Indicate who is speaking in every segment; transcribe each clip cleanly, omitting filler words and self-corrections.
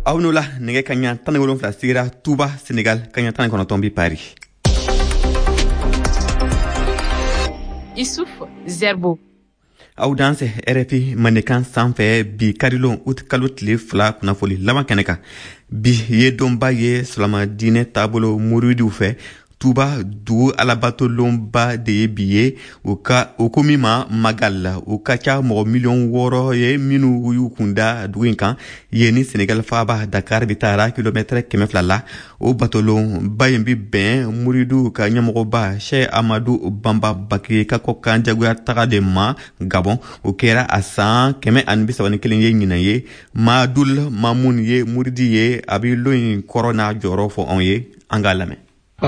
Speaker 1: Aw n'o la nɛgɛ kaɲa 17 sigira Touba, Senegal, kaɲa 19 bi Paris.
Speaker 2: Issouf Zerbo.
Speaker 1: Aw dansɛ RFI Mandenkan sanfɛ bi karilon ut kalo tile 2 kunnafoli laban kɛnɛ kan. Bi ye donba ye silamɛdiinɛ taabolo muridiw fɛ. Tuba dugu alabatolonba de ye bi ye, u ka o ko min ma Magal. U ka ca mɔgɔ miliyɔn 6 ye minnu y'u kun da dugu in kan. Yen ni Senegal faaba Dakar bɛ taara kilomɛtɛrɛ 200 la. O batolonba in bi bɛn muridiw ka ɲɛmɔgɔba Cheikh Amadou Bamba Baké ka kɔkan jagoya taga de ma Gabon. O kɛra a san 131 ye ɲinan ye. Madul Mamun ye muridi ye, a bɛ lon in kɔrɔ n'a jɔyɔrɔ fɔ anw ye, an k'a lamɛn.
Speaker 3: N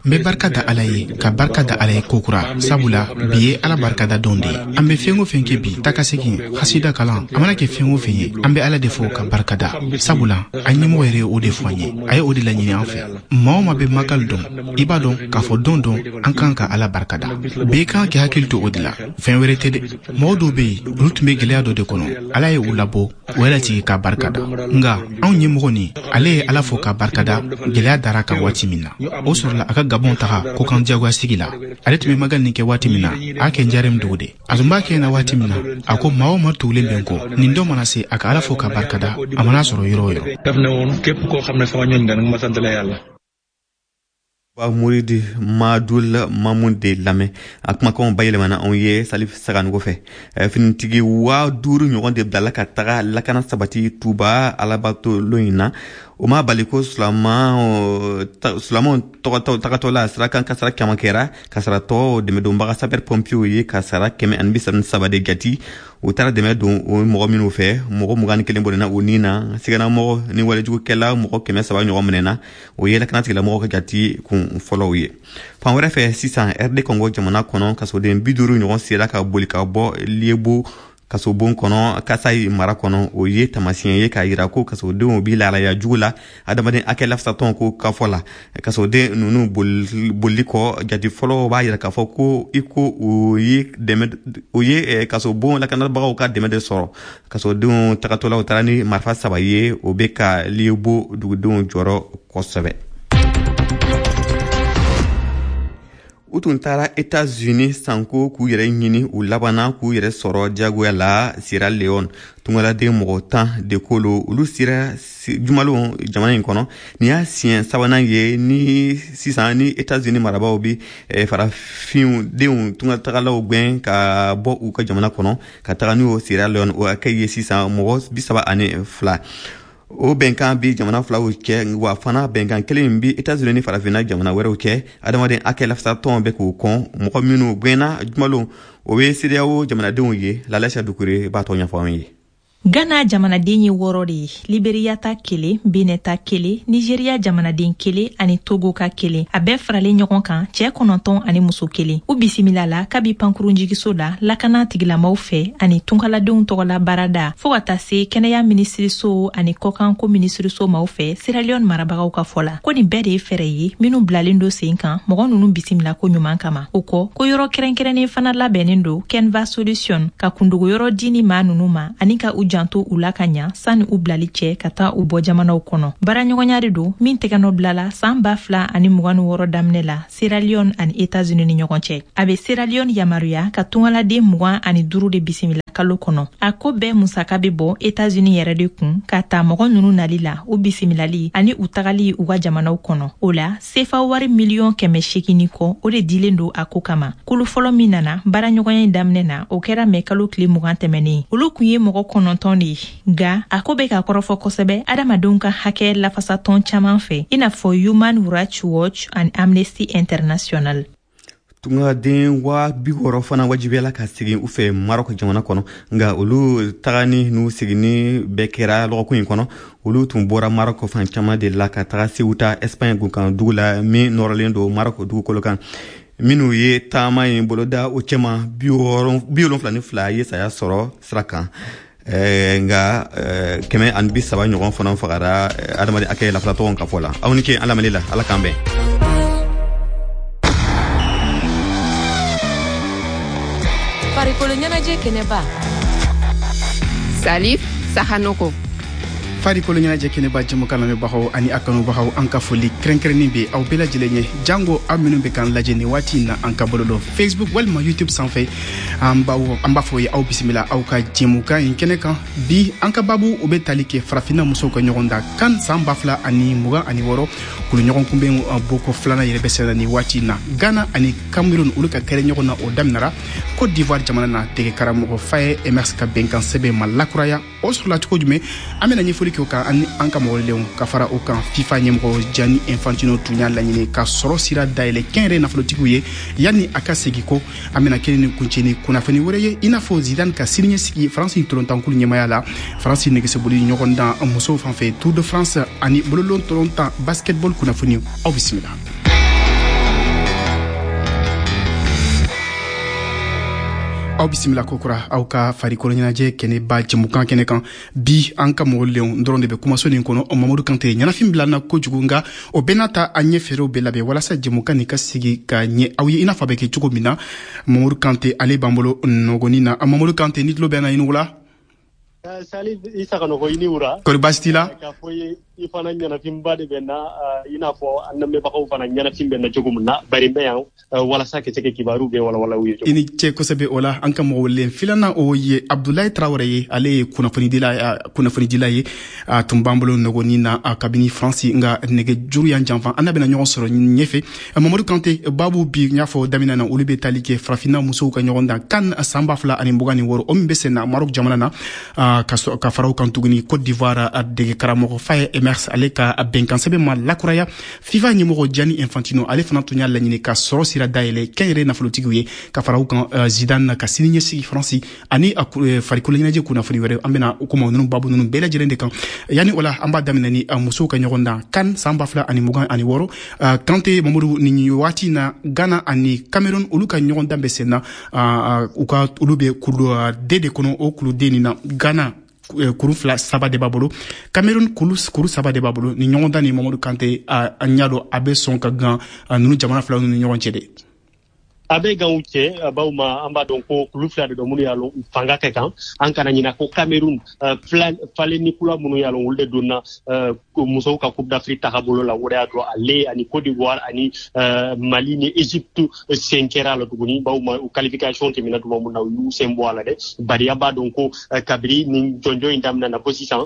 Speaker 3: bɛ barika da Ala ye, ka barika da Ala ye kokura, sabula bi ye Ala barikada don de ye. An bɛ fɛn o fɛn kɛ bi, taa ka segin, hasida kalan, a mana kɛ fɛn o fɛn ye, an bɛ Ala de fo ka barika da, sabula an ɲɛmɔgɔ yɛrɛ ye o de fɔ an ye, a ye o de laɲini an fɛ. Maa o maa bɛ Magal dɔn, i b'a dɔn k'a fɔ don don an kan ka Ala barika da. Bɛɛ kan k'i hakili to o de la, fɛn wɛrɛ tɛ dɛ. Mɔgɔ dɔw bɛ yen, olu tun bɛ gɛlɛya dɔ de kɔnɔ, Ala ye u labɔ, u yɛrɛ tigi k'a barika da. Nka anw ɲɛmɔgɔ nin, ale ye Ala fo k'a barika da gɛlɛya dara kan waati min na, o sɔrɔla a ka Gabɔn taga kɔkan diyagoya sigi la. Ale tun bɛ Magal nin kɛ waati min na, a kɛ Njarem dugu de. A tun b'a kɛ na waati min na, a ko maa o maa tugulen bɛ n kɔ, nin don mana se, a ka Ala fo k'a barika da, a mana sɔrɔ yɔrɔ o yɔrɔ.
Speaker 1: Ba muridi Madul Mamun de lamɛn, a kumakanw bayɛlɛmana anw ye Salif Saganogo fɛ. Finitigi 5000 ɲɔgɔn de bilala ka taga lakana sabati Tuba alabatolon in na. O ma bali ko silamɛw tagatɔ la sirakan kasara caman kɛra. Kasaratɔ dɛmɛdonbaga sapeur pompiers ye kasara 133 de jati. U taara dɛmɛ don o mɔgɔ minnu fɛ, mɔgɔ 21 bɔnɛna u ni na. Siganamɔgɔ ni walejugukɛla mɔgɔ 300 ɲɔgɔn minɛna. O ye lakanatigilamɔgɔw ka jati kun fɔlɔw ye. Fan wɛrɛ fɛ sisan, RD Congo jamana kɔnɔ, kasoden 50 ɲɔgɔn sera ka boli ka bɔ Liebo kasobon kɔnɔ Kasayi mara kɔnɔ. O ye taamasiyɛn ye k'a yira ko kasodenw bi lahalaya jugu la adamaden hakɛ lafasatɔn ko kafɔ la. Kasoden ninnu bolili kɔ, jati fɔlɔ b'a yira k'a fɔ ko i ko u ye dɛmɛ, u ye kasobon lakanabagaw ka dɛmɛ de sɔrɔ. Kasodenw tagatɔlaw taara ni marifa 3 ye, o bɛ ka Liebo dugudenw jɔrɔ kosɛbɛ. U tun taara États-Unis sanko k'u yɛrɛ ɲini, u labanna k'u yɛrɛ sɔrɔ diyagoya la Sierra Leone. Tungaladen mɔgɔ 10 de kolo, olu sera jumalon jamana in kɔnɔ. Nin y'a siɲɛ sabanan ye ni sisan ni États-Unis marabaaw bi farafinw denw tungatagalaw gɛn ka bɔ u ka jamana kɔnɔ ka taga n'u ye Sierra Leone. O hakɛ ye sisan mɔgɔ 32. O bɛnkan bi jamana filaw cɛ, wa fana bɛnkan kelen bi États-Unis ni farafinna jamana wɛrɛw cɛ. Adamaden hakɛ lafasatɔn bɛ k'u kɔn. Mɔgɔ minnu gɛnna jumalon, o ye CEDEAO jamanadenw ye. Lalasa Dukure b'a tɔ ɲɛfɔ anw ye.
Speaker 4: Ghana jamanaden ye 6 de ye, Liberia ta 1, Benin ta 1, Nigeria jamanaden 1 ani Togo ka 1. A bɛɛ faralen ɲɔgɔn kan, cɛ 9 ani muso 1. U bisimila la kabi pankurunjigiso la lakana tigilamaw fɛ ani tunkaladenw tɔgɔla baarada fɔɔ ka taa se kɛnɛya minisiriso ani kɔkanko minisiriso maaw fɛ Sierra Leone marabagaw ka fɔ la. Ko nin bɛɛ de ye fɛɛrɛ ye minnu bilalen don sen kan mɔgɔ ninnu bisimila ko ɲuman kama. O kɔ, ko yɔrɔ kɛrɛnkɛrɛnnen fana labɛnnen don Kenva Solution ka kundogoyɔrɔ di ni maa ninnu ma ani ka u janto u la ka ɲa sanni u bilali cɛ ka taa u bɔ jamanaw kɔnɔ. Baaraɲɔgɔnya de don min tɛgɛnɔ bilala san 2026 daminɛ la Sierra Leone ani États-Unis ni ɲɔgɔn cɛ. A bɛ Sierra Leone yamaruya ka tungaladen 25 de bisimila kalo kɔnɔ. A ko bɛɛ musaka bɛ bɔ États-Unis yɛrɛ de kun ka ta mɔgɔ ninnu nali la, u bisimilali ani u tagali u ka jamanaw kɔnɔ. O la sefa wari miliyɔn 800 ni kɔ, o de dilen don a ko kama. Kulu fɔlɔ min nana baaraɲɔgɔnya in daminɛ na, o kɛra mɛ kalo tile 20 tɛmɛnen. Olu kun ye mɔgɔ 9 de ye. Nka a ko bɛ ka kɔrɔfɔ kosɛbɛ adamadenw ka hakɛ lafasatɔn caman fɛ, i n'a fɔ Human Rights Watch ani Amnesty International.
Speaker 1: Tungaden 60 000 fana wajibiyala ka segin u fɛ Maroc jamana kɔnɔ. Nka olu tagani n'u seginni bɛɛ kɛra lɔgɔkun in kɔnɔ. Olu tun bɔra Maroc fan caman de la ka taga Ceuta, Espagne gunkan dugu la min nɔrɔlen don Maroc dugukolo kan. Minnu ye taama in boloda, o cɛma 72 ye saya sɔrɔ sira kan. Nka 130 ɲɔgɔn fana fagara adamaden hakɛ lafasatɔnw ka fɔ la. Aw ni ce an lamɛnni la, Ala k'an bɛn.
Speaker 2: Farikolo ɲɛnajɛ kɛnɛba.
Speaker 5: Salif Sahanoko.
Speaker 3: Farikolo ɲɛnajɛ kɛnɛba jɛmukan lamɛnbagaw ani a kanubagaw, an ka foli kɛrɛnkɛrɛnnen bɛ aw bɛɛ lajɛlen ye, jango aw minnu bɛ k'an lajɛ nin waati in na an ka bɔlɔlɔ Facebook walima YouTube sanfɛ. An b'a fɔ ye aw bisimila aw ka jɛmukan in kɛnɛ kan. Bi an ka babu, o bɛ tali kɛ farafinna musow ka ɲɔgɔn dan CAN san 2026 kulu ɲɔgɔn kunbɛn boko filanan yɛrɛ bɛ senna nin waati in na. Ghana ani Cameroun, olu ka kɛrɛ ɲɔgɔn na, o daminɛra Côte d'Ivoire jamana na. Dege karamɔgɔ Faye Emerse ka bɛnkan sɛbɛn ma lakuraya, o sɔrɔla cogo jumɛn? An bɛna ɲɛfɔli kɛ o kan ani an ka mɔgɔlenw. Ka fara o kan, FIFA ɲɛmɔgɔ Gianni Infantino tun y'a laɲini ka sɔrɔ sira dayɛlɛ kɛnyɛrɛ nafolotigiw ye yanni a ka segin ko. An bɛna kelen ni kuncɛ ni kunnafoni wɛrɛ ye, i n'a fɔ Zidane ka siniɲɛsigi Faransi tolontankulu ɲɛmaya la, Faransi nɛgɛsoboli ɲɔgɔndan musow fan fɛ, Tour de France ani bololon tolontan basketball kunnafoni. Aw bisimila. Aw bisimila kokura aw ka farikolo ɲɛnajɛ kɛnɛba jɛmukan kɛnɛ kan. Bi an ka mɔgɔlenw dɔrɔn de bɛ kumaso nin kɔnɔ. Mamadu Kante ɲɛnafin bila na kojugu, nka o bɛɛ n'a ta, an ɲɛ fɛɛrɛw bɛɛ labɛn walasa jɛmukan nin ka sigi ka ɲɛ aw ye i n'a fɔ a bɛ kɛ cogo min na. Mamadu Kante, ale b'an bolo nɔgɔnin na. Mamadu Kante, ni tulo bɛ na, i ni wula.
Speaker 5: Salif, i Saganɔgɔ, i ni wura.
Speaker 3: Kɔri baasi t'i la?
Speaker 5: K'a fɔ ye, i fana ɲɛnafinba de bɛ na, i n'a fɔ an lamɛnbagaw fana ɲɛnafin bɛ na cogo min na, bari n bɛ yan walasa ka se ka kibaru bɛɛ walawala u ye.
Speaker 3: I ni ce kosɛbɛ. O la, an ka mɔgɔ welen filanan, o ye Abdulayi Tarawele ye. Ale ye kunnafonidila ye. A tun b'an bolo nɔgɔnin na kabini Faransi, nka nɛgɛjuru y'an janfa. An n'a bɛna ɲɔgɔn sɔrɔ ɲɛfɛ. Mamadu Kante, babu bi, n y'a fɔ daminɛ na, olu bɛ tali kɛ farafinna musow ka ɲɔgɔn dan CAN san 2026, o min bɛ sen na Maroc jamana na. Ka fara o kan tuguni, Côte d'Ivoire dege karamɔgɔ Faye Emerse, ale ka bɛnkan sɛbɛn ma lakuraya. FIFA ɲɛmɔgɔ Gianni Infantino, ale fana tun y'a laɲini ka sɔrɔ sira dayɛlɛ kɛnyɛrɛ nafolotigiw ye. Ka fara o kan, Zidane ka sini ɲɛsigi Faransi ani farikolo ɲɛnajɛ kunnafoni wɛrɛ, an bɛna kuma ninnu babu ninnu bɛɛ lajɛlen de kan. Yanni o la, an b'a daminɛ ni musow ka ɲɔgɔn dan CAN san 2026. Kante Mamadu, nin waati na, Ghana ani Cameroun, olu ka ɲɔgɔn dan bɛ sen na. U ka olu bɛ kulu D de kɔnɔ. O kulu D nin na, Ghana kuru fila saba de b'a bolo, Cameroun kuru saba de b'a bolo. Ni ɲɔgɔn dan ni, Mamadu Kante, an y'a dɔn a bɛ sɔn ka gan ninnu jamana fila ninnu ni ɲɔgɔn cɛ de.
Speaker 5: A bɛ gan u cɛ, bawo ma an b'a dɔn ko kulu fila de don minnu y'a lɔn u fanga ka kan. An kana ɲina ko Cameroun falen ni kula minnu y'a lɔn, olu de donna musow ka Coupe d'Afrique tagabolo la. O de y'a to ale ani Côte d'Ivoire ani Mali ni Égypte sen kɛra a la tuguni, bawo ma u qualification tɛmɛna tuma min na, u y'u sen bɔ a la dɛ. Bari an b'a dɔn ko kabiri nin jɔnjɔn in daminɛna fo sisan,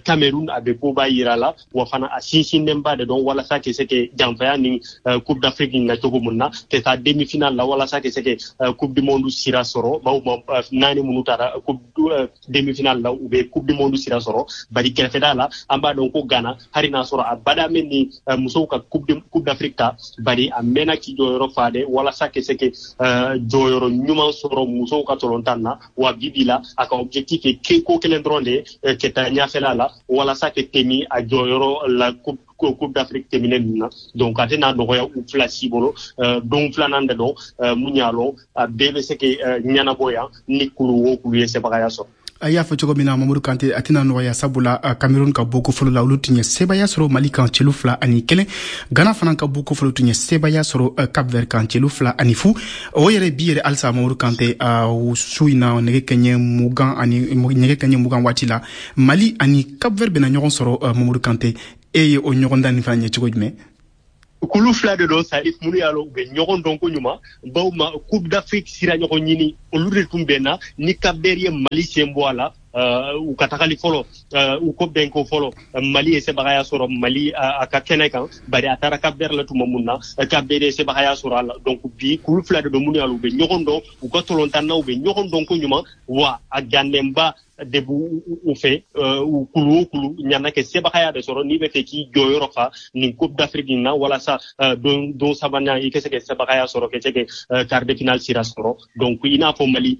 Speaker 5: Cameroun a bɛ koba yira la, wa fana a sinsinnenba de dɔn walasa ka se ka janfaya ni Coupe d'Afrique in na cogo min na, ka taa demi-finale la, walasa ka se ka Coupe du monde sira sɔrɔ. Bawo ma naani minnu taara coupe demi-finale la, u bɛ Coupe du monde sira sɔrɔ. Bari kɛrɛfɛda la, an b'a dɔn ko Ghana, hali n'a sɔrɔ a bada min ni musow ka Coupe d'Afrique ta, bari a mɛnna k'i jɔyɔrɔ fa dɛ walasa ka se ka jɔyɔrɔ ɲuman sɔrɔ musow ka tolontan na. Wa bi bi la, a ka objectif ye ko kelen dɔrɔn de ye, ka taa ɲɛfɛla la walasa ka tɛmɛ a jɔyɔrɔ la Coupe d'Afrique tɛmɛnen ninnu na. Donc a tɛna nɔgɔya u fila si bolo. Don filanan de don mun y'a lɔn, a bɛɛ bɛ se ka ɲɛnabɔ yan ni kulu o kulu ye sebagaya sɔrɔ.
Speaker 3: A y'a fɔ cogo min na, Mamadu Kante, a tɛna nɔgɔya, sabula Cameroun ka bɔko fɔlɔ la, olu tun ye sebaya sɔrɔ Mali kan celu 2-1. Ghana fana ka bɔko fɔlɔ tun ye sebaya sɔrɔ Cap Vert kan celu 2-0. O yɛrɛ bi yɛrɛ halisa, Mamadu Kante, su in na, nɛgɛ kanɲɛ 20 ani nɛgɛ kanɲɛ 20 waati la, Mali ani Cap Vert bɛna ɲɔgɔn sɔrɔ. Mamadu Kante, e ye o ɲɔgɔn dan nin fana ɲɛ cogo jumɛn?
Speaker 5: Kulu fila de don, Salif, minnu y'a lɔn u bɛ ɲɔgɔn dɔn ko ɲuman, bawo ma Coupe d'Afrique sira ɲɔgɔn ɲini, olu de tun bɛnna ni Cap Vert ye Mali sen bɔ a la. U ka tagali fɔlɔ, u ko bɛnko fɔlɔ, Mali ye sebagaya sɔrɔ Mali a ka kɛnɛ kan, bari a taara Cap Vert la tuma mun na, Cap Vert ye sebagaya sɔrɔ a la. Donc bi kulu fila de don minnu y'a lɔn u bɛ ɲɔgɔn dɔn, u ka tolontannaw bɛ ɲɔgɔn dɔn ko ɲuman, wa a gannenba de b'u u fɛ. U kulu o kulu ɲana kɛ sebagaya de sɔrɔ n'i bɛ fɛ k'i jɔyɔrɔ fa nin Coupe d'Afrique in na, walasa don sabanan i ka se ka sebagaya sɔrɔ, ka se ka quart de finale sira sɔrɔ. Donc i n'a fɔ Mali,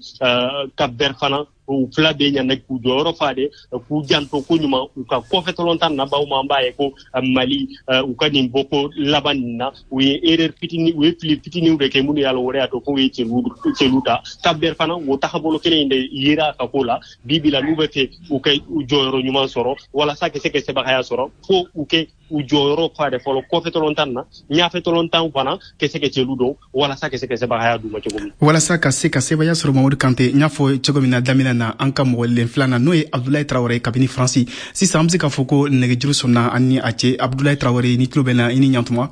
Speaker 5: Cap Vert fana, u fila bɛ ɲana k'u jɔyɔrɔ fa de, k'u janto ko ɲuman u ka kɔfɛ tolontan na. Bawo ma an b'a ye ko Mali, u ka nin bɔko laban nin na, u ye erreur fitinin, u ye fili fitininw de kɛ minnu y'a lɔn, o de y'a to k'u ye celu ta. Cap Vert fana, o tagabolo kelen in de yera a ka ko la. Bi bi la, n'u bɛ fɛ u ka u jɔyɔrɔ ɲuman sɔrɔ walasa ka se ka sebagaya sɔrɔ, fo u kɛ U jɔyɔrɔ fa de fɔlɔ kɔfɛ tɔlɔntan na, ɲafɛ tɔlɔntan fana ka se ka cɛlu dɔn walasa ka se ka sebagaya d'u ma cogo min.
Speaker 3: Walasa ka se ka sebaya sɔrɔ. Mamadu Kante, n y'a fɔ cogo min na daminɛ na, an ka mɔgɔ len filanan, n'o ye Abdulayi Tarawele kabini Faransi. Sisan an bɛ se k'a fɔ ko nɛgɛjuru sɔnna an ni a cɛ. Abdulayi Tarawele, ni tulo bɛ na, i ni ɲantuma.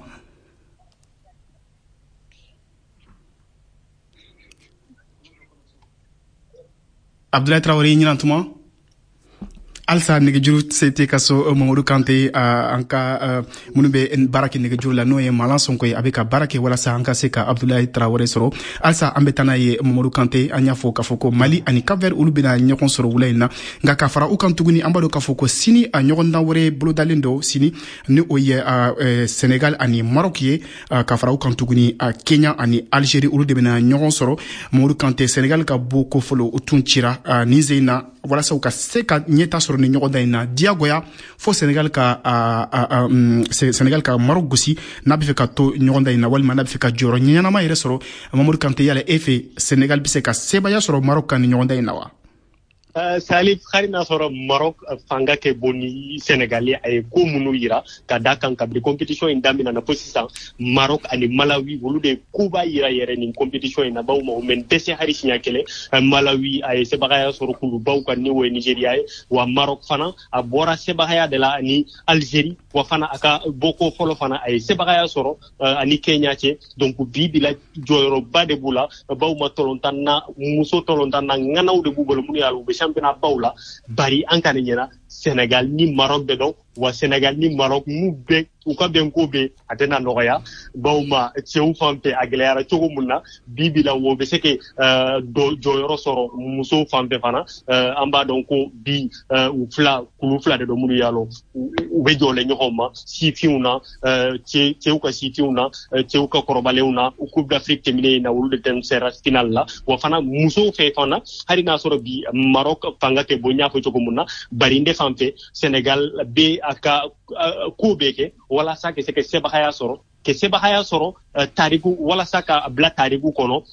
Speaker 3: Abdulayi Tarawele, i ɲinantuma. Halisa nɛgɛjuru se tɛ ka so. Mamadu Kante, an ka minnu bɛ baara kɛ nɛgɛjuru la, n'o ye Malan Sonko ye, a bɛ ka baara kɛ walasa an ka se ka Abdulayi Tarawele sɔrɔ. Halisa an bɛ taa n'a ye. Mamadu Kante, an y'a fɔ k'a fɔ ko Mali ani Cap-Vert, olu bɛna ɲɔgɔn sɔrɔ wula in na. Nka ka fara u kan tuguni, an b'a dɔn k'a fɔ ko sini a ɲɔgɔndan wɛrɛ bolodalen don sini, ni o ye Senegal ani Maroc ye. Ka fara u kan tuguni, Kenya ani Algérie, olu de bɛna ɲɔgɔn sɔrɔ. Mamadu Kante, Senegal ka bɔ ko fɔlɔ, o tun cira nin sen in na. Walasa u ka se ka ɲɛta sɔrɔ ni ɲɔgɔndan in na, diyagoya fo Senegal ka Maroc gosi, n'a bɛ fɛ ka to ɲɔgɔndan in na walima n'a bɛ fɛ ka jɔyɔrɔ ɲɛnama yɛrɛ sɔrɔ. Mamadu Kante, yala e fɛ, Senegal bɛ se ka sebaya sɔrɔ Maroc kan ni ɲɔgɔndan in na wa?
Speaker 5: Salif, hali n'a sɔrɔ Maroc fanga kɛ bon ni Senegal ye, a ye ko minnu yira ka da kan kabini compétition in daminɛ na fo sisan, Maroc ani Malawi, olu de koba yira yɛrɛ nin compétition in na, bawo ma u mɛ dɛsɛ hali siɲɛ kelen. Malawi, a ye sebagaya sɔrɔ kulubaw kan, ni o ye Nigeria ye. Wa Maroc fana, a bɔra sebagaya de la ani Algérie. Wa fana, a ka bɔko fɔlɔ fana, a ye sebagaya sɔrɔ ani Kenya cɛ. Donc bi bi la, jɔyɔrɔba de b'u la, bawo ma tɔlɔntan na, muso tɔlɔntan na ŋanaw de b'u bolo minnu y'a u bɛ championnat baw la. Bari an kana ɲɛna, Sénégal ni Maroc de dɔn. Wa Sénégal ni Maroc, n'u bɛ u ka bɛnko bɛ, a tɛna nɔgɔya, bawo ma cɛw fan fɛ a gɛlɛyara cogo mun na, bi bi la o bɛ se ka jɔyɔrɔ sɔrɔ musow fan fɛ fana. An b'a dɔn ko bi u fila, kulu fila de don minnu y'a lɔn u bɛ jɔlen ɲɔgɔn ma sifinw na, cɛw ka sifinw na, cɛw ka kɔrɔbalenw na. Coupe d'Afrique tɛmɛnen in na, olu de tɛm sera final la. Wa fana musow fɛ fana, hali n'a sɔrɔ bi Maroc fanga kɛ bon, n y'a fɔ cogo mun na, bari n de fan fɛ, Sénégal bɛ a ka ko bɛɛ kɛ walasa ka se ka sebagaya sɔrɔ, tariku, walasa ka bila tariku kɔnɔ,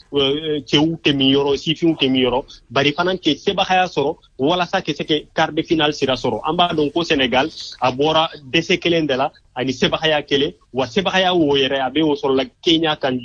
Speaker 5: cɛw tɛ min yɔrɔ, sifinw tɛ min yɔrɔ. Bari fana ke sebagaya sɔrɔ walasa ka se ka quart de finale sira sɔrɔ. An b'a dɔn ko Sénégal, a bɔra dɛsɛ kelen de la ani sebagaya kelen. Wa sebagaya wo yɛrɛ, a bɛ o sɔrɔ la Kenya kan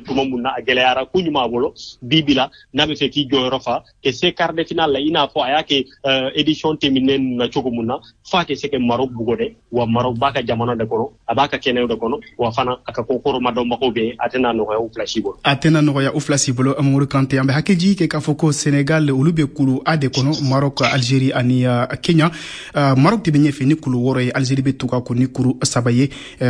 Speaker 5: tuma mun na, a gɛlɛyara ko ɲuman a bolo. Bi bi la, n'a bɛ fɛ k'i jɔyɔrɔ fa ka se quart de finale la, i n'a fɔ a y'a kɛ édition tɛmɛnen na cogo mun na, f'a ka se ka Maroc bugɔ dɛ. Wa Maroc b'a ka jamana de kɔnɔ, a b'a ka kɛnɛw de kɔnɔ, wa fana a ka ko kɔrɔma dɔnbagaw bɛ, a tɛna nɔgɔya u fila si bolo.
Speaker 3: A tɛna nɔgɔya u fila si bolo. Amadu Kante, an bɛ hakili jigin kɛ k'a fɔ ko Senegal, olu bɛ kulu A de kɔnɔ, Maroc, Algérie ani Kenya. Maroc de bɛ ɲɛfɛ ni kulu 6 ye, Algérie bɛ tugu a kɔ ni kuru 3 ye.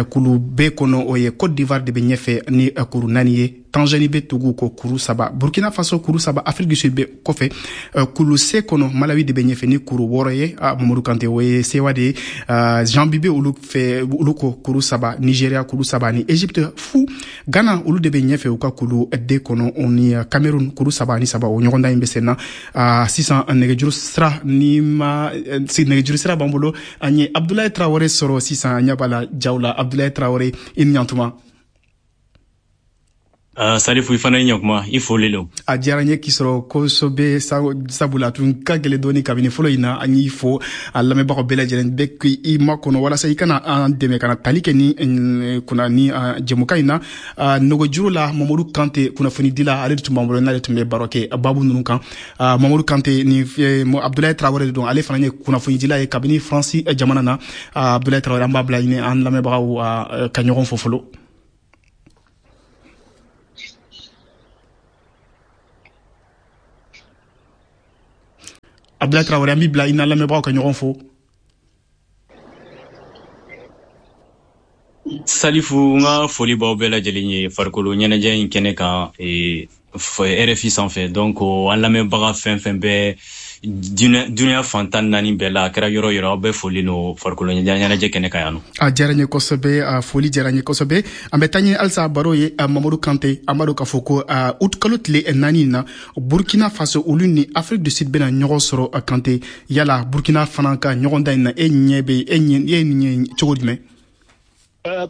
Speaker 3: Kulu B kɔnɔ, o ye Côte d'Ivoire de bɛ ɲɛfɛ ni kuru 4 ye, Tanzanie bɛ tugu ko kuru 3, Burkina Faso kuru 3, Afrique du Sud bɛ kɔfɛ. Kulu C kɔnɔ, Malawi de bɛ ɲɛfɛ ni kuru 6 ye. Mamadu Kante, o ye sewa de ye. Zambie bɛ olu fɛ, olu ko kuru 3, Nigeria kuru 3 ni Egypte fu. Ghana, olu de bɛ ɲɛfɛ u ka kulu D kɔnɔ, o ni Cameroun kuru 3 ani 3. O ɲɔgɔndan in bɛ sen na sisan. Nɛgɛjuru sira ni ma, nɛgɛjuru sira b'an bolo. An ye Abdulayi Tarawele sɔrɔ sisan, an ɲɛ b'a la jaw la. Abdulayi Tarawele, i ni ɲantuma.
Speaker 6: Salifu, i fana i ɲakuma, i folilen don.
Speaker 3: A diyara n ye k'i sɔrɔ kosɛbɛ, sabula a tun ka gɛlɛn dɔɔni kabini fɔlɔ in na. An y'i fo, a lamɛnbagaw bɛɛ lajɛlen bɛ k'i makɔnɔ walasa i kana an dɛmɛ ka na tali kɛ ni kunna ni jɛmukan in na. Nɛgɛjuru la, Mamadu Kante, kunnafonidila, ale de tun b'an bolo, n'ale tun bɛ baro kɛ babu ninnu kan. Mamadu Kante ni Abdulayi Tarawele de don, ale fana ye kunnafonidila ye kabini Faransi jamana na. Abdulayi Tarawele, an b'a bila ɲini an lamɛnbagaw ka ɲɔgɔn fo fɔlɔ. Abdulayi Tarawele, an b'i bila i n'a lamɛnbagaw ka ɲɔgɔn fo.
Speaker 6: Salifu, n ka foli b'aw bɛɛ lajɛlen ye farikolo ɲɛnajɛ in kɛnɛ kan RFI sanfɛ. Donc an lamɛnbaga fɛn fɛn bɛ dunuya fan 14 bɛɛ la, a kɛra yɔrɔ yɔrɔ, aw bɛɛ foli no farikolo ɲɛnajɛ kɛnɛ kan yan nɔ.
Speaker 3: A diyara n ye kosɛbɛ, a foli diyara n ye kosɛbɛ. An bɛ taa ɲɛ halisa baro ye. Mamadu Kante, an b'a dɔn k'a fɔ ko août kalo tile 4 in na, Burkina Faso, olu ni Afrique du Sud bɛna ɲɔgɔn sɔrɔ. Kante, yala Burkina fana ka ɲɔgɔndan in na, e ɲɛ bɛ e ɲɛ e ɲɛ cogo jumɛn?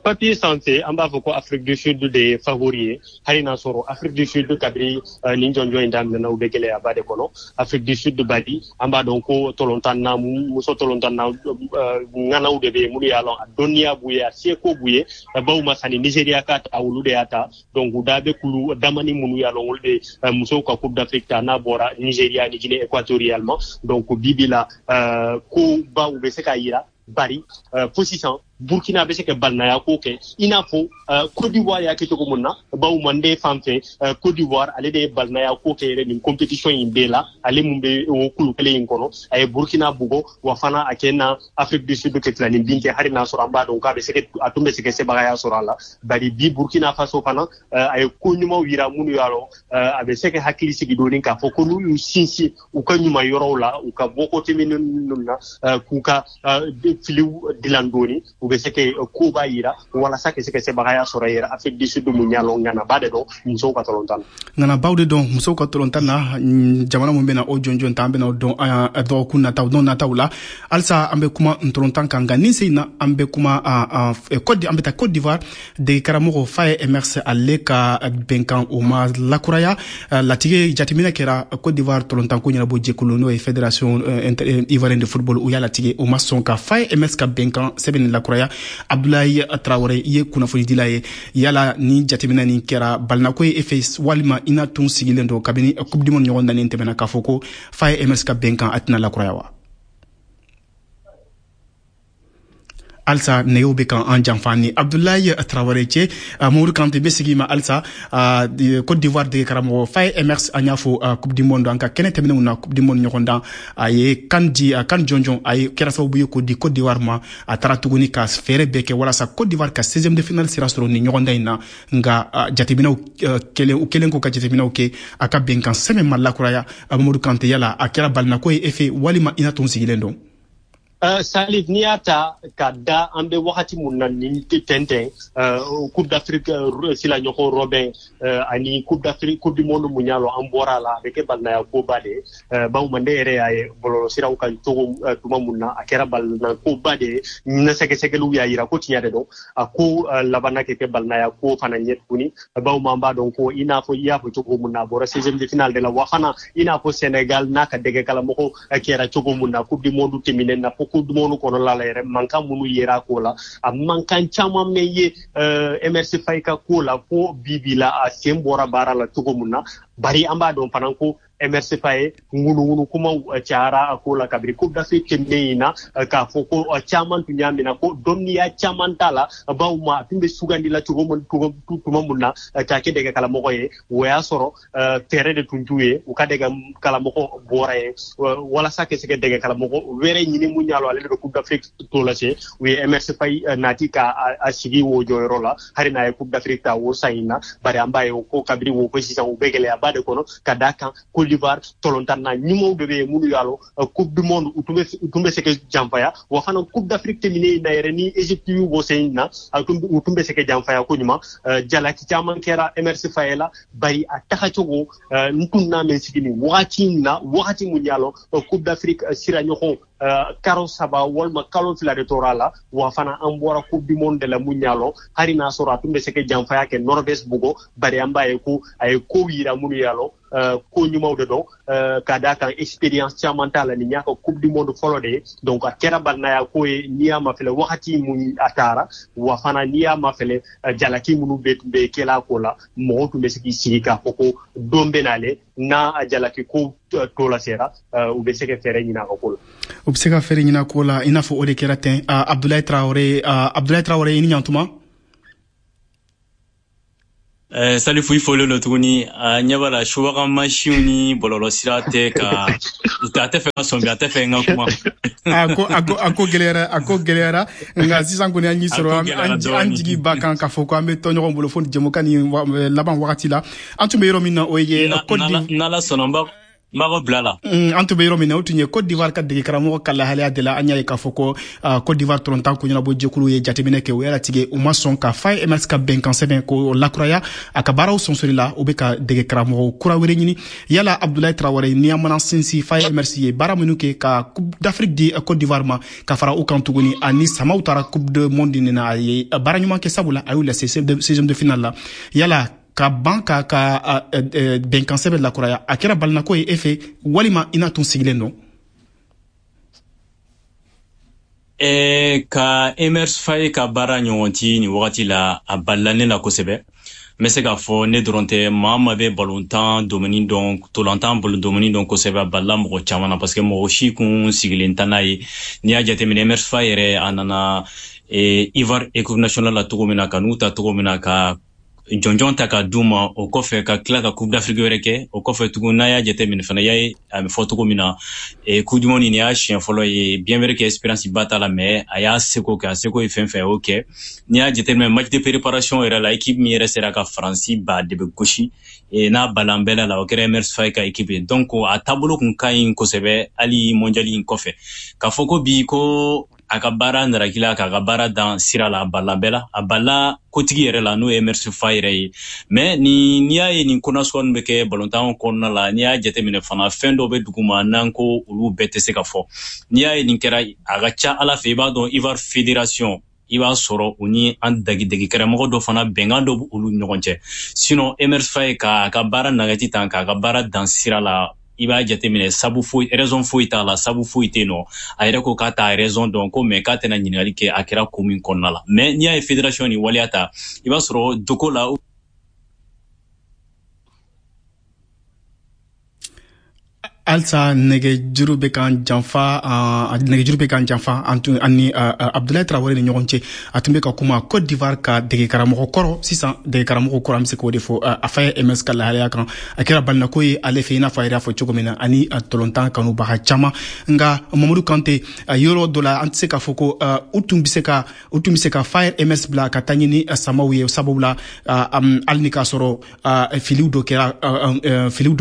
Speaker 5: Papier sanfɛ, an b'a fɔ ko Afrique du Sud de ye favori ye, hali n'a sɔrɔ Afrique du Sud, kabiri nin jɔnjɔn in daminɛna, u bɛ gɛlɛyaba de kɔnɔ. Afrique du Sud badi, an b'a dɔn ko tɔlɔntan muso, tɔlɔntan na ŋanaw de bɛ yen minnu y'a lɔn, a dɔnniya b'u ye, a seko b'u ye. Baw ma sani Nigeria ka ta, olu de y'a ta. Donc u da bɛ kulu damani minnu y'a lɔn, olu de musow ka Coupe d'Afrique ta, n'a bɔra Nigeria ni Guinée équatoriale ma. Donc bi bi la, ko baw bɛ se k'a yira, bari fo sisan Burkina bɛ se ka balinaya ko kɛ, i n'a fɔ Côte d'Ivoire y'a kɛ cogo mun na. Baw manden fan fɛ, Côte d'Ivoire, ale de ye balinaya ko kɛ yɛrɛ nin compétition in bɛɛ la. Ale mun bɛ o kulu kelen in kɔnɔ, a ye Burkina bugɔ, wa fana a kɛ na Afrique du Sud kɛ tilanin bin kɛ, hali n'a sɔrɔ an b'a dɔn k'a bɛ se, a tun bɛ se ka sebagaya sɔrɔ a la. Bari bi Burkina Faso fana, a ye ko ɲumanw yira minnu y'a lɔn, a bɛ se ka hakili sigi dɔɔni k'a fɔ ko n'u y'u sinsin u ka ɲuman yɔrɔw la, u ka bɔ côté minnu na, k'u ka filiw dilan dɔɔni, u bɛ se ka ko b'a yira walasa ka se ka sebagaya sɔrɔ yɛrɛ Afrique du Sud mun y'a lɔn, ŋanaba de dɔn musow ka tɔlɔntan
Speaker 3: na. Ŋanabaw de dɔn musow ka tɔlɔntan na. Jamana mun bɛna o jɔnjɔn ta, an bɛna o dɔn dɔgɔkun nataw, don nataw la. Halisa an bɛ kuma ntɔlɔntan kan, nka nin sen na an bɛ kuma Côte, an bɛ taa Côte d'Ivoire. Dege karamɔgɔ Faye Emerse, ale ka bɛnkan o ma lakuraya. Latigɛ jateminɛ kɛra Côte d'Ivoire tɔlɔntanko ɲɛnabɔ jɛkulu, n'o ye Fédération ivoirienne de football, u y'a latigɛ, o ma sɔn ka Faye Emerse ka bɛnkan sɛbɛn lakuraya. Abdoulaye Traoré, i ye kunnafonidila ye. Yala ni jateminɛ nin kɛra balinako ye e fɛ, walima i n'a tun sigilen don kabini Coupe du monde ɲɔgɔn dannen tɛmɛna k'a fɔ ko Faye Emerse ka bɛnkan a tɛna lakuraya wa? Halisa nɛgɛw bɛ kan an janfa ni Abdoulaye Traoré cɛ. Mamadu Kante bɛ sigi ma halisa. Côte d'Ivoire dege karamɔgɔ Faye Emerse, an y'a fɔ Coupe du monde, an ka kɛnɛ tɛmɛnenw na, Coupe du monde ɲɔgɔn dan, a ye kan di, a kan jɔnjɔn, a ye kɛra sababu ye k'o di Côte d'Ivoire ma. A taara tuguni ka fɛɛrɛ bɛɛ kɛ walasa Côte d'Ivoire ka 16e de finale sira sɔrɔ nin ɲɔgɔndan in na. Nka jateminɛw kɛlen, u kɛlen k'u ka jateminɛw kɛ, a ka bɛnkan sɛbɛn ma lakuraya. Mamadu Kante, yala a kɛra balinako ye e fɛ, walima i n'a tun sigilen don?
Speaker 5: Salif, n'i y'a ta ka da an bɛ wagati mun na nin tɛntɛn, Coupe d'Afrique sila ɲɔgɔn rɔbɛn ani Coupe d'Afrique, Coupe du monde mun y'a lɔn an bɔra a la, a bɛ kɛ balinaya koba de ye. Bawo mande yɛrɛ y'a ye bɔlɔlɔsiraw kan cogo tuma mun na, a kɛra balina koba de ye. Na sɛgɛsɛgɛliw y'a yira ko tiɲɛ de don, a ko labanna kɛ kɛ balinaya ko fana ɲɛ tuguni. Bawo an b'a dɔn ko i n'a fɔ i y'a fɔ cogo mun na, a bɔra 16e de finale de la, wa fana i n'a fɔ Sénégal n'a ka dɛgɛkalamɔgɔw kɛra cogo mun na Coupe du monde tɛmɛnen na, fo Coupe du monde kɔnɔla la yɛrɛ, mankan minnu yera a ko la, a mankan caman mɛn ye Emerse Faye ka ko la, ko bi bi la a sen bɔra baara la cogo mun na. Bari an b'a dɔn fana ko Emerse Faye, ŋunuŋunu kumaw cayara a ko la kabiri Coupe d'Afrique tɛmɛnen in na, k'a fɔ ko caman tun y'a minɛ ko dɔnniya caman t'a la. Bawo ma a tun bɛ sugandi la cogo mun tuma mun na k'a kɛ dɛgɛ kalamɔgɔ ye, o y'a sɔrɔ fɛɛrɛ de tun t'u ye, u ka dɛgɛ kalamɔgɔ bɔra ye walasa ka se ka dɛgɛ kalamɔgɔ wɛrɛ ɲini mun y'a lɔn ale de bɛ Coupe d'Afrique to lase. U ye Emerse Faye nati ka a sigi o jɔyɔrɔ la, hali n'a ye Coupe d'Afrique ta o san in na. Bari an b'a ye ko kabiri wo ko sisan, u bɛ gɛlɛyaba de kɔnɔ, ka d'a kan Côte d'Ivoire tɔlɔntan na ɲumanw de bɛ yen minnu y'a lɔn Coupe du monde u tun bɛ se ka janfaya, wa fana Coupe d'Afrique tɛmɛnen in na yɛrɛ, ni Égypte y'u bɔ sen in na, u tun bɛ se ka janfaya ko ɲuman. Jalaki caman kɛra Emerse Faye la, bari a tagacogo n tun n'a mɛn sigi nin wagati in na, wagati mun y'a lɔn Coupe d'Afrique sira ɲɔgɔn karo 3 walima kalo 2 de tora a la, wa fana an bɔra Coupe du monde de la mun y'a lɔn, hali n'a sɔrɔ a tun bɛ se ka janfaya kɛ Norvège bugɔ. Bari an b'a ye ko a ye kow yira minnu y'a lɔn ko ɲumanw de dɔn, ka d'a kan expérience caman t'a la, nin y'a ka Coupe du monde fɔlɔ de ye. Donc a kɛra balinaya ko ye n'i y'a mafɛlɛ wagati mun a taara, wa fana n'i y'a mafɛlɛ jalaki minnu bɛ tun bɛ kɛla a ko la, mɔgɔw tun bɛ se k'i sigi k'a fɔ ko don bɛ n'ale n'a a jalaki ko to la sera, u bɛ se ka fɛɛrɛ ɲini a ka ko la.
Speaker 3: U bɛ se ka fɛɛrɛ ɲini a ko la, i n'a fɔ o de kɛra ten. Abdoulaye Traoré, Abdoulaye Traoré, i ni ɲantuma.
Speaker 6: Salifu, i folen don tuguni. A ɲɛ b'a la, subaga mansinw ni bɔlɔlɔsira tɛ ka a tɛ fɛ ka sɔn bi, a tɛ fɛ n ka kuma.
Speaker 3: A ko gɛlɛyara, a ko gɛlɛyara, nka sisan kɔni an y'i sɔrɔ. An jigi ba kan k'a fɔ ko an bɛ tɔ ɲɔgɔn bolo fo jɛmukan ni laban wagati la. An tun bɛ yɔrɔ min na, o ye
Speaker 6: N'Ala sɔnna, n b'a N b'a bila la.
Speaker 3: An tun bɛ yɔrɔ min na, o tun ye Côte d'Ivoire ka dege karamɔgɔ ka lahalaya de la. An y'a ye k'a fɔ ko Côte d'Ivoire tɔrɔntan ko ɲɛnabɔ jɛkulu ye jateminɛ kɛ, o y'a latigɛ u ma sɔn ka Faye Emerse ka bɛnkan sɛbɛn k'o lakuraya a ka baaraw sonsori la. U bɛ ka dege karamɔgɔ kura wɛrɛ ɲini. Yala Abdoulaye Traoré, ni an mana sinsin Faye Emerse ye baara minnu kɛ ka Coupe d'Afrique di Côte d'Ivoire ma, ka fara u kan tuguni, ani Samaw taara Coupe du monde nin na, a ye baara ɲuman kɛ, sabula a y'u lase 16e de finale la. Yala ka ban ka bɛnkan sɛbɛn lakuraya, a kɛra balinako ye e fɛ, walima i n'a tun sigilen don?
Speaker 6: Ka Emerse Faye ka baara ɲɔgɔn ti nin wagati la, a balila ne la kosɛbɛ. N bɛ se k'a fɔ ne dɔrɔn tɛ, maa ma bɛ balontan domini dɔn, tolantan domini dɔn kosɛbɛ, a balila mɔgɔ caman na, parce que mɔgɔ si kun sigilen tɛ n'a ye. N'i y'a jateminɛ, Emerse Faye yɛrɛ, a nana Ivoire équipe nationale la cogo min na, ka n'u ta cogo min na, ka jɔnjɔn ta ka d'u ma, o kɔfɛ ka tila ka Coupe d'Afrique wɛrɛ kɛ, o kɔfɛ tugun, n'a y'a jateminɛ fana, y'a ye a bɛ fɔ cogo min na, Coupe du monde nin y'a siɲɛ fɔlɔ ye. Bien vrai que expérience ba t'a la, mais a y'a seko kɛ, a seko ye fɛn fɛn, a y'o kɛ. N'i y'a jateminɛ match de préparation yɛrɛ la, équipe min yɛrɛ sera ka Faransi ba de bɛ gosi n'a balan bɛɛ la, o kɛra Emerse Faye ka équipe ye. Donc a taabolo kun ka ɲi kosɛbɛ hali mondial in kɔfɛ. K'a fɔ ko bi ko a ka baara narakila, k'a ka baara dan sira la, a bala bɛɛ la, a bala kotigi yɛrɛ la, n'o ye Emerse Faye yɛrɛ ye. Mais ni n'i y'a ye nin ko nasuguya ninnu bɛ kɛ balontan kɔnɔna la, n'i y'a jateminɛ fana, fɛn dɔw bɛ duguma n'an ko olu bɛɛ tɛ se ka fɔ. N'i y'a ye nin kɛra, a ka ca Ala fɛ, i b'a dɔn Ivoire Fédération, i b'a sɔrɔ u ni an dagidegi karamɔgɔ dɔ fana bɛnkan dɔ b'olu ɲɔgɔn cɛ. Sinon Emerse Faye k'a ka baara nagati tan, k'a ka baara dan sira la, i b'a jateminɛ sabu foyi, raison foyi t'a la, sabu foyi tɛ yen nɔ. A yɛrɛ ko k'a t'a raison dɔn ko, mais k'a tɛna ɲininkali kɛ a kɛra ko min kɔnɔna la. Mais n'i y'a ye fédération ni waleya ta, i b'a sɔrɔ dogo la.
Speaker 3: Halisa nɛgɛjuru bɛ k'an janfa, nɛgɛjuru bɛ k'an janfa an tun ani Abdoulaye Traoré ni ɲɔgɔn cɛ. A tun bɛ ka kuma Côte d'Ivoire ka degekaramɔgɔ kɔrɔ, sisan degekaramɔgɔ kɔrɔ, an bɛ se k'o de fɔ, a Faye Emerse ka lahalaya kan. A kɛra balinako ye ale fɛ, i n'a fɔ a yɛrɛ y'a fɔ cogo min na, ani tɔlɔntan kanubaga caman. Nka Mamadu Kante, yɔrɔ dɔ la, an tɛ se k'a fɔ ko u tun bɛ se ka Faye Emerse bila ka taa ɲini Samaw ye, sababu la hali ni k'a sɔrɔ filiw dɔ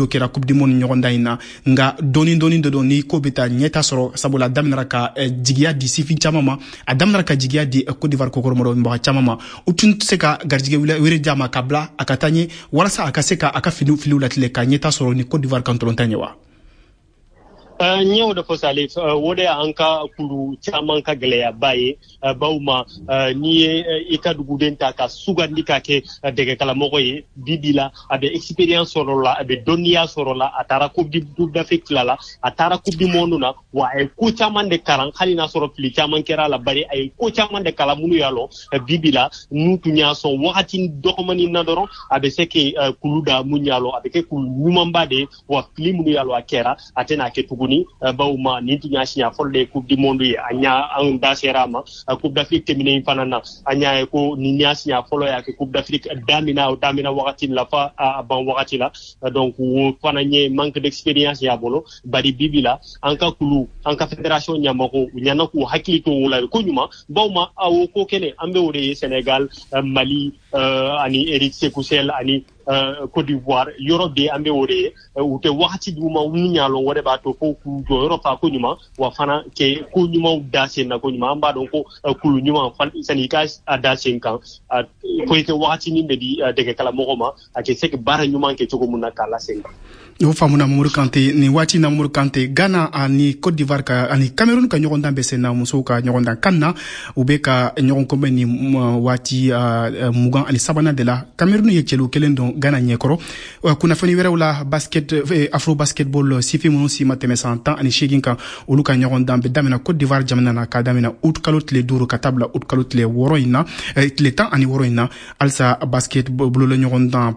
Speaker 3: kɛra Coupe du monde ɲɔgɔndan in na, nka dɔɔni dɔɔni de don ni ko bɛ taa ɲɛta sɔrɔ, sabula a daminɛra ka jigiya di sifin caman ma, a daminɛra ka jigiya di Côte d'Ivoire kokɔrɔmɔgɔ caman ma. U tun tɛ se ka garijɛgɛ wɛrɛ d'a ma ka bila a ka taa ɲɛ, walasa a ka se ka a ka filiw latigɛ ka ɲɛta sɔrɔ ni Côte d'Ivoire kan tɔlɔntan ye wa?
Speaker 5: N y'o de fɔ Salif, o de y'an ka kulu caman ka gɛlɛyaba ye. Baw ma, n'i ye i ka duguden ta ka sugandi ka kɛ dɛgɛkalamɔgɔ ye, bi bi la a bɛ expérience sɔrɔ la, a bɛ dɔnniya sɔrɔ la, a taara Coupe d'Afrique fila la, a taara Coupe du monde na, wa a ye ko caman de kalan, hali n'a sɔrɔ fili caman kɛra a la, bari a ye ko caman de kalan minnu y'a lɔn bi bi la n'u tun y'a sɔn wagati dɔgɔmanin na dɔrɔn, a bɛ se ke kulu da mun y'a lɔn, a bɛ kɛ kulu ɲumanba de ye, wa fili minnu y'a lɔn a kɛra, a tɛna kɛ tuguni. Baw ma, nin tun y'a siɲɛ fɔlɔ de ye Coupe du monde ye, an y'a an da sera a ma. Coupe d'Afrique tɛmɛnen fana na, an y'a ye ko nin y'a siɲɛ fɔlɔ y'a kɛ Coupe d'Afrique daminɛ, o daminɛ wagati la fa a ban wagati la. Donc o fana ye manque d'expérience y'a bolo, bari bibi la an ka kulu, an ka fédération ɲɛmɔgɔw u ɲɛna k'u hakili to o la ko ɲuman. Baw ma, o ko kelen an bɛ o de ye Sénégal, Mali ani Eric Sékou Chelle ani Côte d'Ivoire, yɔrɔ bɛɛ an bɛ o de ye. U tɛ wagati d'u ma minnu y'a lɔn, o de b'a to fo k'u jɔyɔrɔ fa ko ɲuman, wa fana kɛ ko ɲumanw da sen na ko ɲuman. An b'a dɔn ko kulu ɲuman sani i ka a da sen kan, fo i kɛ wagati min bɛ di dɛgɛkalamɔgɔ ma, a kɛ se ka baara ɲuman kɛ cogo min na k'a la sen kan.
Speaker 3: O faamuna Mamadu Kante. Nin waati na, Mamadu Kante, Ghana ani Côte d'Ivoire ka ani Cameroun ka ɲɔgɔndan bɛ sen na, musow ka ɲɔgɔndan kan na, u bɛ ka ɲɔgɔn kunbɛn ni waati 23nan de la. Cameroun ye cɛlu kelen don Ghana ɲɛkɔrɔ. Kunnafoni wɛrɛw la, basket, afro basketball, sifin minnu si ma tɛmɛ san 18 kan, olu ka ɲɔgɔndan bɛ daminɛ Côte d'Ivoire jamana na k'a daminɛ août kalo tile 5 ka taa bila août kalo tile 6 in na, tile 16 in na. Halisa basket bolola ɲɔgɔndan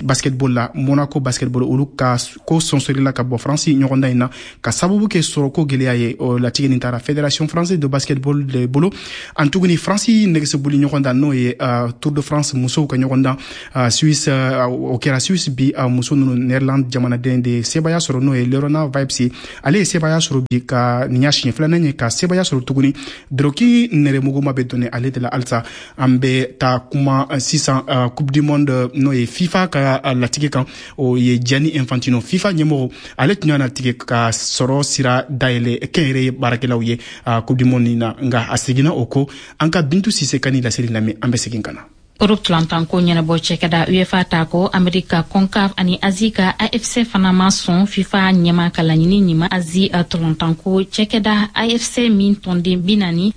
Speaker 3: basketball la, Monaco basketball, olu ka ko sɔnsɔrila ka bɔ Faransi ɲɔgɔndan in na ka sababu kɛ sɔrɔko gɛlɛya ye. O latigɛ nin taara Fédération française de basketball de bolo. An tuguni Faransi nɛgɛsoboli ɲɔgɔndan, n'o ye Tour de France musow ka ɲɔgɔndan, Suisse, o kɛra Suisse bi, muso ninnu Nederland jamanaden de sebaya sɔrɔ, n'o ye Lerona Vibes ye. Ale ye sebaya sɔrɔ bi, ka nin y'a siɲɛ filanan ye ka sebaya sɔrɔ tuguni. Doroki nɛrɛmuguma bɛ donni ale de la. Halisa an bɛ taa kuma sisan Coupe du monde, n'o ye FIFA ka latigɛ kan, o ye Gianni Infantino. Infantino, FIFA ɲɛmɔgɔ, ale tun y'a latigɛ ka sɔrɔ sira dayɛlɛ kɛnyɛrɛye baarakɛlaw ye Coupe du monde na, nka a seginna o ko. An ka Bintu Sise ka ni laseli lamɛn, an bɛ segin ka na.
Speaker 7: Europe tɔlɔntanko ɲɛnabɔ cɛkɛda UEFA ta ko Amerika CONCACAF ani Azi ka AFC fana ma sɔn FIFA ɲɛma ka laɲini ɲiman. Azi tɔlɔntanko cɛkɛda AFC min tɔnden 46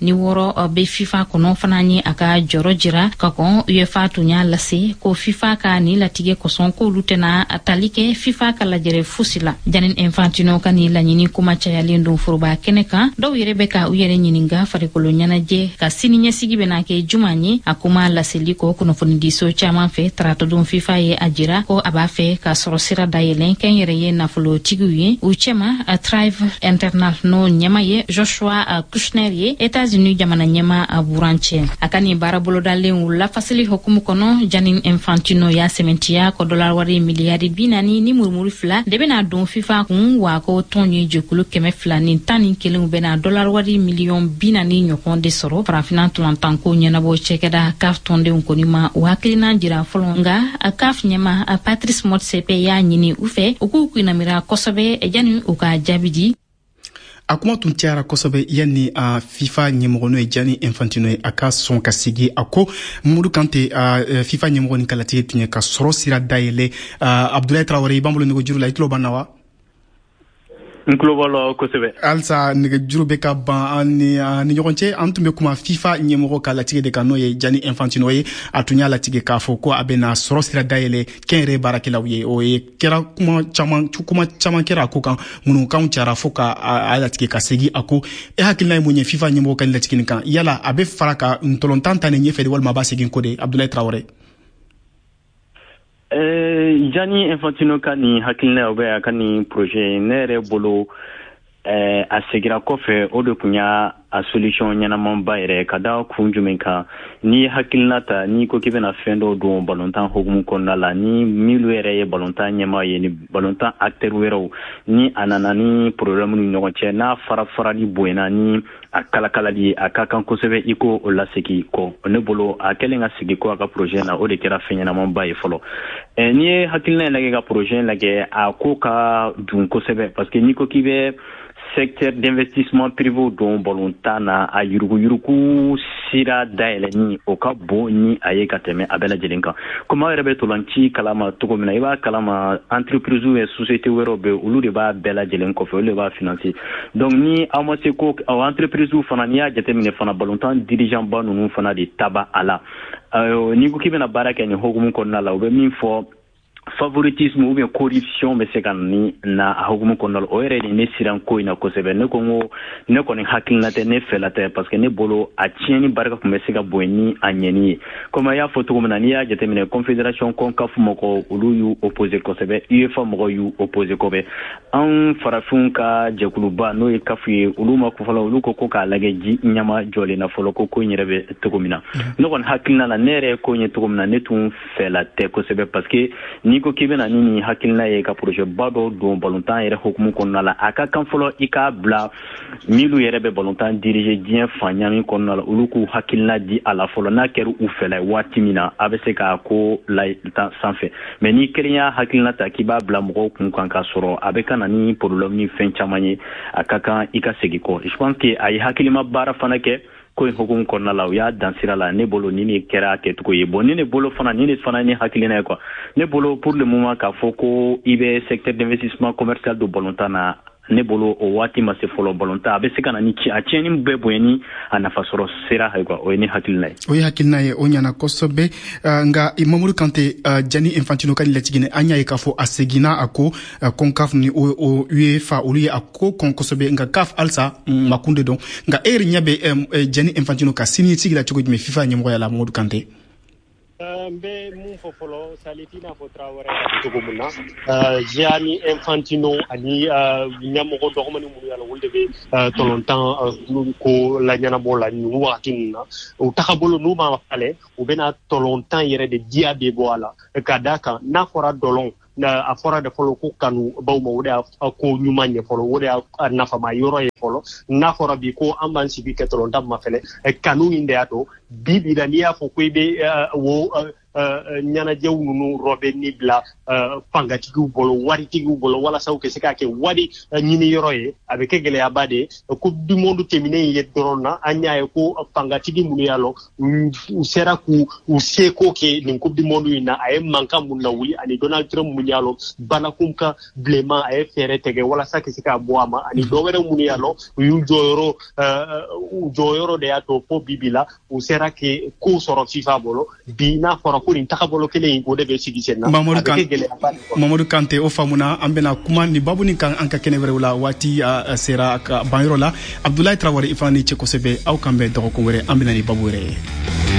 Speaker 7: bɛ FIFA kɔnɔ fana ye a ka jɔrɔ jira ka kɔn. UEFA tun y'a lase ko FIFA ka nin latigɛ kosɔn, k'olu tɛna tali kɛ FIFA ka lajɛrɛ fosi la. Gianni Infantino ka nin laɲini kuma cayalen don foroba kɛnɛ kan. Dɔw yɛrɛ bɛ ka u yɛrɛ ɲininka farikolo ɲɛnajɛ ka sini ɲɛsigi bɛna kɛ juman ye. A kuma laseli kɔ kunnafonidiso caman fɛ taratadon, FIFA ye a jira ko a b'a fɛ ka sɔrɔ sira dayɛlɛn kɛnyɛrɛye nafolotigiw ye, u cɛma Thrive Internal, n'o ɲɛma ye Joshua Kushner ye, Etats-Unis jamana ɲɛma burancɛ. A ka nin baara bolodalen lafasili hukumu kɔnɔ, Gianni Infantino y'a sɛmɛntiya ko dɔlar wari miliyari 42.2 de bɛna don FIFA kun, wa ko tɔn ye jɛkulu 211 bɛna dɔlar wari miliyɔn 40 ɲɔgɔn de sɔrɔ. Farafinna tɔlɔntanko ɲɛnabɔ cɛkɛda CAF tɔndenw kɔni ma o hakilina jira fɔlɔ, nka CAF ɲɛma Patrice Motsepe y'a ɲini u fɛ u k'u kunnamira kosɛbɛ yanni u ka jaabi di.
Speaker 3: A kuma tun cayara kosɛbɛ yanni a FIFA ɲɛmɔgɔ, n'o ye Gianni Infantino ye, a ka sɔn ka sigi a ko. Mamadu Kante, FIFA ɲɛmɔgɔ ni kalatigɛ tun ye ka sɔrɔ sira dayɛlɛ. Abdulayi Tarawele, i b'an bolo nɛgɛjuru la, i tulo b'an na wa?
Speaker 6: N tulo b'a la kosɛbɛ.
Speaker 3: Halisa nɛgɛjuru bɛ ka ban an ni ɲɔgɔn cɛ. An tun bɛ kuma FIFA ɲɛmɔgɔ ka latigɛ de kan, n'o ye Gianni Infantino ye. A tun y'a latigɛ k'a fɔ ko a bɛna sɔrɔ sira dayɛlɛ kɛnyɛrɛye baarakɛlaw ye. O ye kɛra kuma caman, kuma caman kɛra a ko kan, ŋunukanw cayara fo ka a latigɛ ka segin a ko. E hakilina ye mun ye FIFA ɲɛmɔgɔ ka nin latigɛ nin kan? Yala a bɛ fara ka ntɔlɔntan ta nin ɲɛfɛ de, walima a b'a segin ko de, Abdulayi Tarawele?
Speaker 6: Gianni Infantino ka nin hakilina, o bɛ a ka nin projet, ne yɛrɛ bolo, a segira kɔfɛ, o de tun y'a a solution ɲɛnamanba yɛrɛ. Ka da kun jumɛn kan? N'i ye hakilina ta, n'i ko k'i bɛna fɛn dɔw don balontan hukumu kɔnɔna la, ni minnu yɛrɛ ye balontan ɲɛmaa ye, ni balontan acteur wɛrɛw, ni a nana ni problème ni ɲɔgɔn cɛ, n'a fara farali bonyana ni a kalakalali ye, a ka kan kosɛbɛ i ko o lasegi kɔ. Ne bolo, a kɛlen ka sigi kɔ a ka projet na, o de kɛra fɛn ɲɛnamanba ye fɔlɔ. N'i ye hakilina in lajɛ, ka projet in lajɛ, a ko ka dun kosɛbɛ, parce que n'i ko k'i bɛ secteur d'investissement privé don balontan na, a yuruguyurugu sira dayɛlɛni, o ka bon ni a ye ka tɛmɛ a bɛɛ lajɛlen kan. Komi aw yɛrɛ bɛ tolanci kalama cogo min na, i b'a kalama entreprise ye société wɛrɛw bɛ, olu de b'a bɛɛ lajɛlen kɔfɛ, olu de b'a financer. Donc ni aw ma se ko aw entreprise fana, n'i y'a jateminɛ fana, balontan dirigeant ba ninnu fana de taba a la. N'i ko k'i bɛna baara kɛ nin hukumu kɔnɔna la, u bɛ min fɔ, favoritisme ou bien corruption bɛ se ka ni na a hukumu kɔnɔna la. O yɛrɛ de ne siran ko in na kosɛbɛ. Ne ko n ko ne kɔni hakilina tɛ, ne fɛla tɛ, parce que ne bolo, a tiɲɛni barika tun bɛ se ka bonya ni a ɲɛni ye. Komi a y'a fɔ cogo min na, n'i y'a jateminɛ, confédération CONCACAF mɔgɔw, olu y'u opposé kosɛbɛ, UEFA mɔgɔw y'u opposé kosɛbɛ. Anw farafinw ka jɛkuluba, n'o ye CAF ye, olu ma ko fɔlɔ. Olu ko ko k'a lajɛ ji ɲama jɔlen na fɔlɔ, ko ko in yɛrɛ bɛ cogo min na. Ne kɔni hakilina la, ne yɛrɛ ye ko in ye cogo min na, ne tun fɛla tɛ kosɛbɛ, parce que n'i ko k'i bɛna ni nin hakilina ye ka projet ba dɔw don balontan yɛrɛ hukumu kɔnɔna la, a ka kan fɔlɔ i k'a bila minnu yɛrɛ bɛ balontan diriger diɲɛ fan ɲami kɔnɔna la, olu k'u hakilina di a la fɔlɔ. N'a kɛra u fɛla ye waati min na, a bɛ se k'a ko la sanfɛ. Mais n'i kelen y'a hakilina ta k'i b'a bila mɔgɔw kun kan k'a sɔrɔ a bɛ ka na ni problème ni fɛn caman ye, a ka kan i ka segin kɔ. Je pense que a ye hakilima baara fana kɛ ko in hukumu kɔnɔna la, u y'a dan sira la. Ne bolo, ni ne kɛra a kɛcogo ye. Bon, ni ne bolo fana, ni ne fana ni hakilina ye quoi, ne bolo, pour le moment, k'a fɔ ko i bɛ secteur d'investissement commercial don balontan na, ne bolo, o waati ma se fɔlɔ. Balontan, a bɛ se ka na ni a tiɲɛni bɛɛ bonya ni a nafa sɔrɔ sira ye quoi. O ye ne hakilina ye.
Speaker 3: O ye hakilina ye, o ɲana kosɛbɛ. Nka Mamadu Kante, Gianni Infantino ka nin latigɛ, an y'a ye k'a fɔ a seginna a ko. CONCACAF ni o UEFA, olu ye a ko kɔn kosɛbɛ, nka CAF halisa makun de don. Nka e yɛrɛ ɲɛ bɛ Gianni Infantino ka siniɲɛsigi la cogo jumɛn FIFA ɲɛmɔgɔya la, Mamadu Kante?
Speaker 5: N bɛ mun fɔ fɔlɔ, Salif, i n'a fɔ Tarawele y'a fɔ cogo min na, Gianni Infantino ani ɲɛmɔgɔ dɔgɔmani minnu y'a la, olu de bɛ tɔlɔntan ko la ɲɛnabɔ la nin wagati ninnu na. U tagabolo n'u ma falen, u bɛna tɔlɔntan yɛrɛ de diya bɛ bɔ a la. Ka d'a kan, n'a fɔra dɔlɔn, a fɔra de fɔlɔ ko kanu baw ma, o de y'a ko ɲuman ye fɔlɔ, o de y'a nafama yɔrɔ ye fɔlɔ. N'a fɔra bi ko an b'an sigi kɛ tɔlɔntan ma fɛnɛ, kanu in de y'a to bi bi la, n'i y'a fɔ ko i bɛ wo Ɲɛnajɛw ninnu rɔbɛnni bila fangatigiw bolo, waritigiw bolo, walasa u ka se k'a kɛ wari ɲini yɔrɔ ye, a bɛ kɛ gɛlɛyaba de ye. Coupe du monde tɛmɛnen ye dɔrɔn na, an y'a ye ko fangatigi minnu y'a lɔn u sera k'u u seko kɛ nin Coupe du monde in na, a ye mankan mun lawuli, ani Donald Trump mun y'a lɔn balakun ka bilenman, a ye fɛɛrɛ tigɛ walasa ka se k'a bɔ a ma, ani dɔ wɛrɛ minnu y'a lɔn u y'u jɔyɔrɔ, u jɔyɔrɔ de y'a to fo bi la u sera ke ko sɔrɔ FIFA bolo. Bi n'a fɔra ko nin tagabolo kelen in, o de bɛ sigi sen na, a bɛ kɛ gɛlɛyaba de kɔnɔ.
Speaker 8: Mamadu Kante, o faamuna. An bɛna kuma ni babu nin kan an ka kɛnɛ wɛrɛw la. Waati sera ka ban yɔrɔ la. Abdulayi Tarawele, i fana ni ce kosɛbɛ. Aw kan bɛn dɔgɔkun wɛrɛ, an bɛna ni babu wɛrɛ ye.